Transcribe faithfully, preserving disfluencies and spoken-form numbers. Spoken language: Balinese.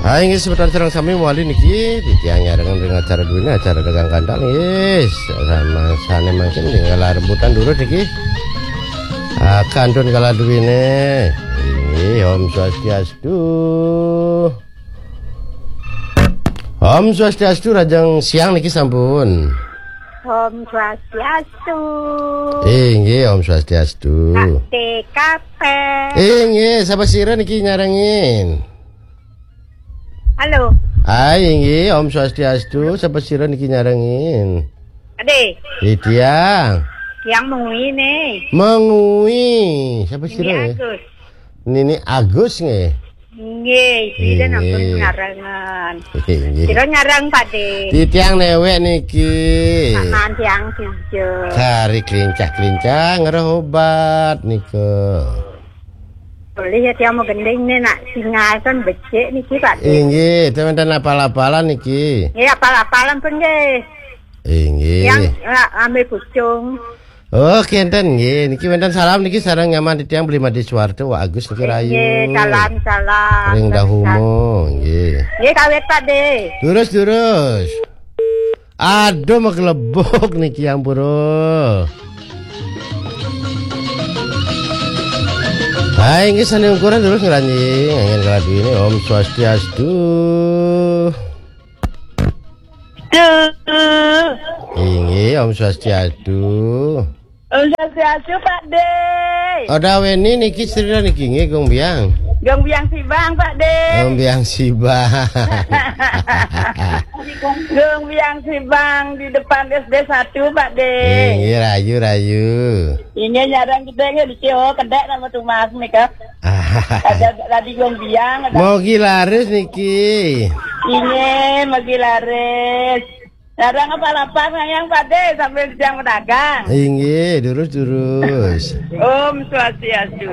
Hai, inggih semeton sareng sami malih niki, titiang nyarengin ring acara duwine, acara dagang kandang, nggih. Sama sane mangkin nggih kala rebutan durus niki. Ah, kantun kala duwine. Inggih, Om Swastiastu. Om Swastiastu, rajeng siang niki sampun. Om Swastiastu. Inggih, Om Swastiastu. Pak D K P. Inggih, sapa sira niki nyarengin? Halo. Hai, inggih, Om Swastiastu. Sapa sira niki nyarengin? Ade. Titiang. Tiang Mengwi nih. Mengwi. Sapa sira? Ini Agus. Nini Agus nggih. Nggih, sira ampun nyarengan. Inggih. Sira nyareng, Pak De. Titiang newek niki. Saman tiang sija. Kari klincah-klincah ngreh obat nika. Boleh ya, tiang mau gending nih, nak singal kan becik niki, Pak De. Inggih, ten wenten apal-apalan niki. Nggih, apal-apalan pun nggih. Inggih. Yang, ah, ambil pucung. Oh, kenten nggih. Niki wenten salam niki sareng nyaman titiang Beli Made Suwarto, Wak Agus niki rayu. Nggih, salam, salam. Ring Dahuma, nggih. Nggih, kawit, Pak De. Durus, durus. Aduh, maglebok niki, ampura. Hai, inggih sane ungkuran durus ngranjing. Angin kala duwine, Om Swastiastu. Tuh. Inggih, Om Swastiastu. Om Swastiastu, Pak De. Oda weni niki sira niki nggih, Gung Biang. Gung Biang Sibang, Pak De. Gung Biang Sibang. Gung Biang Sibang di depan S D satu, Pak De. Inggih, rayu, rayu. Inggih, nyareng gedhe nggih niki, oh, kedek nama tumas nika. Ada tadi Gung Biang, ada. Mogi laris niki. Inggih, mogi laris. Nyareng apa lapar, Yang Pak De, sambil siang pedagang. Inggih, durus, durus. Om Swastiastu.